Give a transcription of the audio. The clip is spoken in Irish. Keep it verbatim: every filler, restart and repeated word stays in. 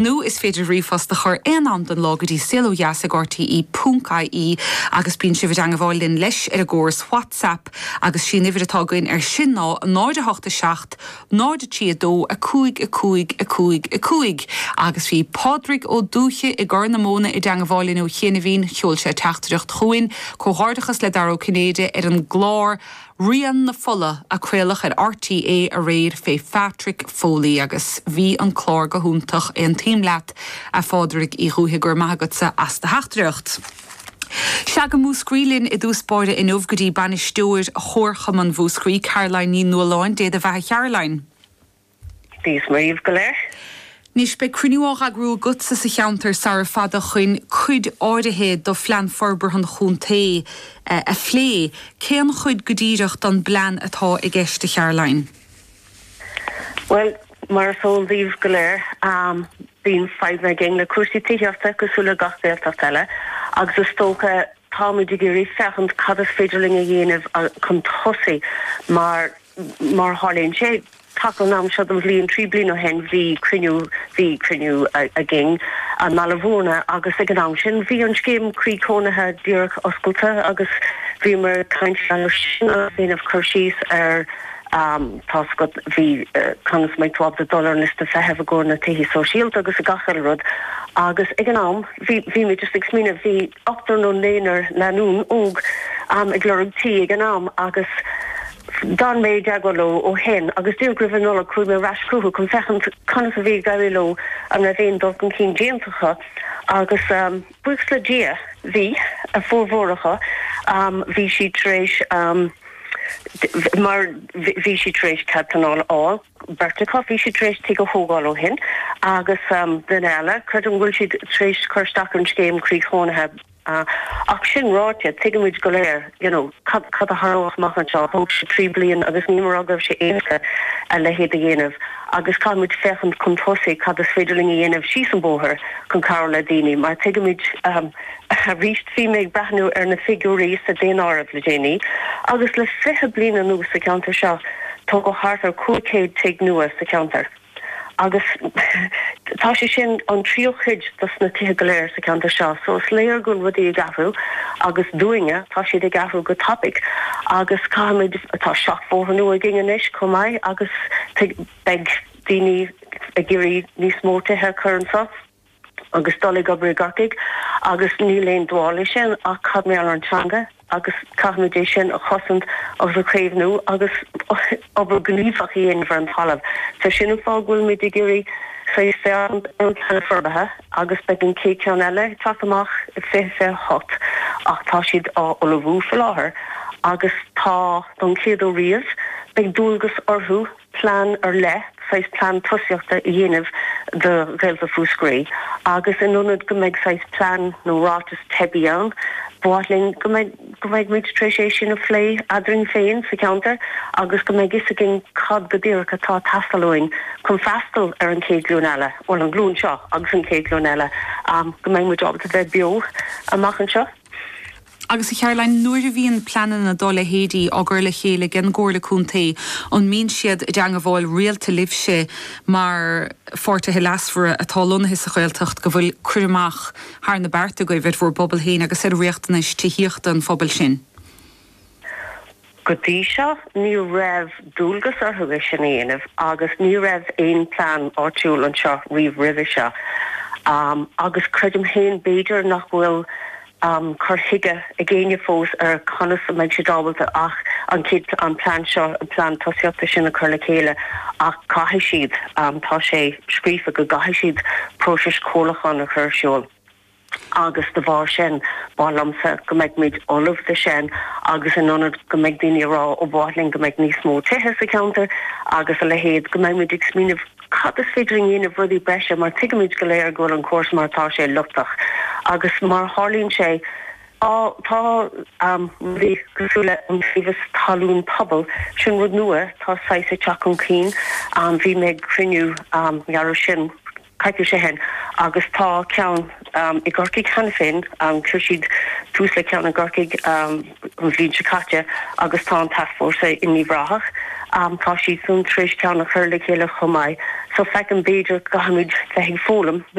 Nó is féidir ríomhphost a chur aon am den lá go dtí saolodheas ag R T E ponc I E agus bíonn sibh i dteagmháil linn leis ar an gcóras WhatsApp agus sí an uimhir atá againn ar sin ná náid a hocht a seacht, náid a trí a dó a cúig a cúig a cúig a cúig. Agus bhí Pádraig Ó Dúiche i gCorr na Móna i dteagmháil linn ó chianaibh. Sheol sé teachtaireacht chugainn, comhghairdeachas le Dara Ó Cinnéide ar an gclár Rian na Fola a craoladh ar R T É aréir fé Patrick Foley agus bhí an clár go hiontach. Aontaím leat, a Phádraig Uí Dhúiche, go raibh maith agatsa as do theachtaireacht. Sea, go Múscraí linn i dtús báire inniu, go dtí bainisteoir Chomharchumann Mhúscraí, Caroline Ní Nualláin. Dé do bheatha, Caroline. Dia is Muire dhaoibh go léir. Anois beidh cruinniú á eagrú agatsa sa cheantar sara fada chun cuid áirithe do phlean forbartha an chontae a phlé. Cén chuid go díreach den bplean atá i gceist, a Charoline? Well, mar is eol daoibh go léir, um, bíonn fadhb againn le cúrsaí tithíochta cosúil le gach Gaeltacht eile agus is dócha táimid ag iarraidh féachaint cad is féidir linn a dhéanamh chun tosaigh mar mar tharlaíonn sé taca an am seo den bhliain trí bliana ó shin bhí cruinniú bhí cruinniú againn i mBaile Bhúirne agus ag an am sin bhí an scéim croí cónaithe díreach oscailte agus bhí mar caint sin déanamh cur síos ar um, tá bhí uh, conas mé ábalta dul ar liosta feithimh i gcomhair na tithe sóisialta agus a gach rud agus ag an am bhí bhí mé just ag smaoineamh, bhí ochtar nó naonúr lánúin óg um, ag lorg tí ag an am agus d'fhan mé i dteagmháil leo ó shin agus díreach roimh an Nollaig chuaigh mé ar ais chucu chun féachaint conas a bhí ag éirí leo, an raibh aon dul chun cinn déanta acu agus um, buíochas le Dia bhí a formhór acu um, bhí sí tar éis um, mar bhí sí tar éis cead pleanála a fháil, beirt acu bhí sí tar éis tigh a thógáil ó shin agus um, duine eile creidim go bhfuil siad tar éis cur isteach an scéim croí chónaithe Uh, ach sin ráite, tuigimid go léir you know, cad cad a tharlódh amach anseo. Thóg sé trí bliana agus ní mar go raibh sé éasca a leithéid a dhéanamh agus caithfimid féachaint chun tosaigh cad is féidir linn a dhéanamh síos an bóthar chun cabhrú le daoine mar tuigimid um, arís bhí mé ag breathnú ar na figiúirí sa daonáireamh le déanaí agus le fiche bliain anuas sa cheantar seo tógadh thart ar cúig chéad tigh nua sa cheantar. Agus tá sé sin an tríú cuid dos na tithe go léir sa cheantar seo, so is léir go bhfuil rudaí ag athrú agus dúinne tá siad ag athrú go tapaidh agus caithfimid, tá seachbhóthar nua againn anois chomh maith agus beidh daoine ag iarraidh níos mó tithe a chur anseo agus dul ag obair i gCorcaigh agus níl aon dua sin ach cad mar an teanga agus caithfimid é sin a chosaint agus a chaomhnú agus obair ghníomhach a dhéanamh ar an talamh. So sin an fáth go bhfuil muid ag iarraidh an plean forbartha agus beidh an chéad cheann eile teacht amach fiche fiche hocht ach tá siad á ullmhú faoi láthair agus tá don chéad uair riamh beidh dualgas orthu plean ar leith, saghas plean tosaíochta a dhéanamh do Ghaeltacht Mhúscraí agus in ionad go mbeidh saghas plean nó ráiteas teibí ann, ba mhaith linn go mbeidh go mbeidh muid tar éis é sin a phlé eadrainn féin sa cheantar agus go mbeidh fhios againn cad go díreach atá ag teastáil uainn chun freastal ar an chéad ghlúin eile, bhuel an glúin seo agus an chéad ghlúin eile, um, go mbeidh muid ábalta bheith beo amach anseo. Agus a Charoline, nuair a bhíonn pleananna dá leithéidí á gcur le chéile ag an gComhairle Contae, an mbíonn siad i dteagmháil rialta libhse mar pháirtithe leasmhara atá lonnaithe sa Ghaeltacht go bhfuil cur amach thar na bearta agaibh ar bhur bpobal féin agus ar riachtanais tithíochta an phobail sin? Go dtí seo ní raibh dualgas orthu é sin a dhéanamh agus ní raibh aon plean áitiúil anseo riamh roimhe seo. Um, agus creidim féin b'fhéidir nach bhfuil um, cur chuige ag éinne fós ar conas a mbeidh siad ábalta ach an chéad an plean seo, an plean tosaíochta sin a chur le chéile ach caithfidh siad um, tá sé scríofa go gcaithfidh siad próiseas comhairliúcháin a chur ar siúl. Agus de bharr sin ba mhaith liomsa go mbeidh muid ullamh do sin agus in ionad go mbeidh daoine ag rá ó ba mhaith linn go mbeidh níos mó tithe sa cheantar agus a leithéid, go mbeidh muid ag smaoineamh cad is féidir a dhéanamh, rudaí breise, mar tuigimid go léir go bhfuil an córas mar atá sé lochtach agus mar tharlaíonn sé tá tá um, rudaí cosúil le iontaobhas talún pobail, sin rud nua tá saghas ag teacht chun cinn. um, bhí mé ag cruinniú um, gearradh sin coicís ó shin agus tá ceann um, i gCorcaigh cheana féin, um, chuir siad tús le ceann i gCorcaigh um, an bhliain seo caite agus tá an tascfhórsa in Uíbh Ráthach. Um, tá siad san tar éis ceann a chur le chéile chomh maith. So feicim b'fhéidir caithfimid bheith ag foghlaim